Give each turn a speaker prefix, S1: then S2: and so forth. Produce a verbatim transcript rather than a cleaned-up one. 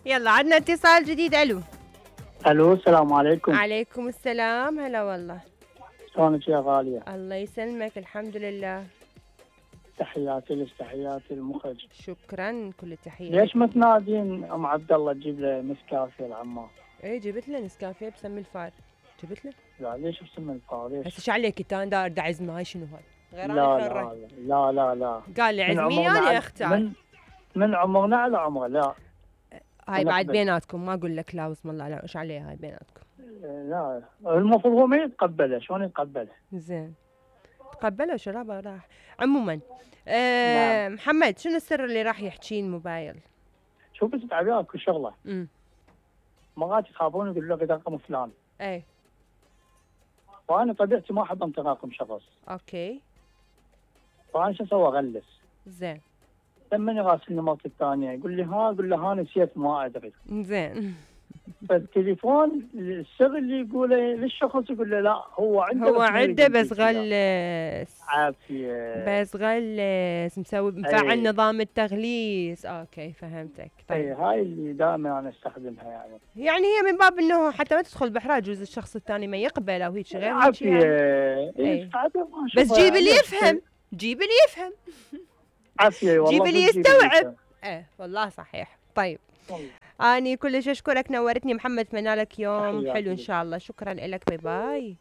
S1: يلا عندنا اتصال جديد. الو
S2: الو السلام عليكم.
S1: عليكم السلام. هلا والله.
S2: شلونك يا غالية؟
S1: الله يسلمك. الحمد لله.
S2: تحياتي لك، تحياتي المخرج.
S1: شكرا، كل التحية.
S2: ليش ما تنادين ام عبد الله تجيب له نسكافيه العمار؟
S1: ايه جبت له نسكافيه بسم الفار. جبت له.
S2: لا ليش بسم الفار؟ ليش؟
S1: هسه شو عليك انت؟ انا داير اعزمه. هاي شنو هاي؟ غير
S2: لا
S1: انا
S2: لا, لا لا لا
S1: قال لي عزميني انا اختار.
S2: من من عمرنا على عمره. لا
S1: هاي بعد بيناتكم، ما اقول لك لا بسم الله، لا ايش عليها هاي بيناتكم.
S2: لا المفروض هو ما يتقبله. شلون يتقبله؟
S1: زين تقبله شرابه راح. عموما آه نعم. محمد شنو السر اللي راح يحكيه الموبايل؟
S2: شوف بس تعبير كل شغله.
S1: امم
S2: مرات يخافون يقولوا لك رقم فلان.
S1: اي
S2: فانا طبيعتي ما احب انطي رقم شخص.
S1: اوكي.
S2: فانا شو اسوي؟ اغلس.
S1: زين.
S2: لما يراسلني مرتي الثانيه يقول لي ها، اقول له ها نسيت ما ادري.
S1: زين.
S2: فالتليفون السر اللي يقوله للشخص يقول له لا هو عنده
S1: هو عنده بس غلس.
S2: عافيه
S1: بس غلس مسوي مفعل أيه. نظام التغليس. اوكي فهمتك.
S2: طيب اي هاي اللي دائما انا استخدمها يعني.
S1: يعني هي من باب انه حتى ما تدخل بحراج، جوز الشخص الثاني ما يقبل او هيك غير
S2: عافيه
S1: يعني.
S2: إيه.
S1: بس جيب اللي يفهم، جيب اللي يفهم.
S2: عافيه والله.
S1: جيب اللي يستوعب. ايه والله صحيح. طيب والله. اني كلش اشكرك، نورتني محمد، اتمنى لك يوم حلو ان شاء الله. شكرا لك. باي باي.